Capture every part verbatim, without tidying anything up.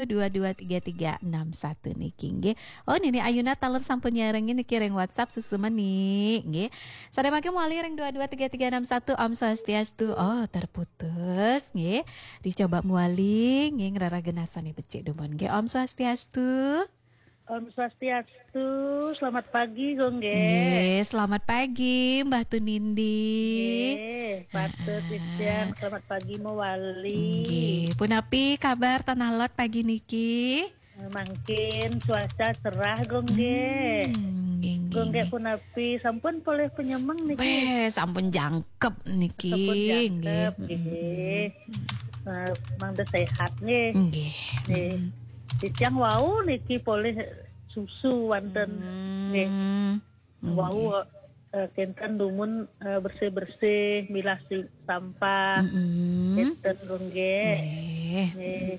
dua dua tiga tiga enam satu niki nggih. Oh, Nini Ayuna taler sampun nyarengin niki ring WhatsApp susu meni nggih. Sadaya mangke mawali ring dua dua tiga tiga enam satu. Om Swastiastu. Oh, terputus nggih. Dicoba mawali nggih, ngrereh genasane becik dumun nggih. Om Swastiastu. Om Swastiastu, selamat pagi, Gung nggih. Nggih, selamat pagi, Mbah Tunindi. Nggih, patut Ah. Titiang, selamat pagi mawali. Nggih, punapi kabar Tanah Lot pagi niki? Mangkin cuaca cerah, Gung nggih. Hmm, nggih, nggih, Gung nggih, nggih. Punapi, sampun polih penyemeng niki? Beh, sampun jangkep niki, Sampun jangkep, nggih. Nggih. Eh, mangda sehat nggih. Nggih. Nggih. Hmm. Titiang wau niki polih susu wonten. Hmm. Nggih. Wau, nggih, eh, kenten dumun, eh, bersih-bersih, milah si-, sampah. Mm-mm. Kenten, Gung nggih. Nggih. Nggih.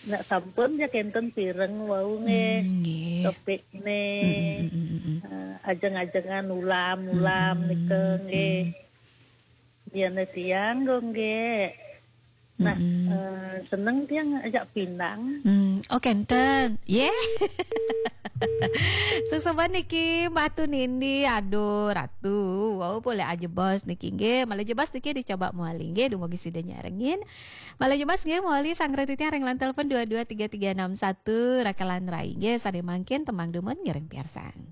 Nek sampun ya kenten pireng wau nggih. Mm, nggih. Topikne. Mm-mm, mm-mm, mm-mm. Eh, ajeng-ajengan ulam-ulam. Mm-mm. Nika nggih. Mm. Biyen tiang, Gung nggih. Nah, mm-mm, eh, seneng tiang ajak pinang. Hmm, oh, kenten. Ye. Suksma niki, Mbah Tunindi. Aduh, Ratu. Wau, polih ajebos niki nggih. Malih jebos niki dicoba mawali nggih, dumugi sida nyarengin. Malih jebos nggih, mawali sanggra titiang ring line telepon dua dua tiga tiga enam satu, Rakalan Rai nggih, sane mangkin tembang dumun ngiring piarsang.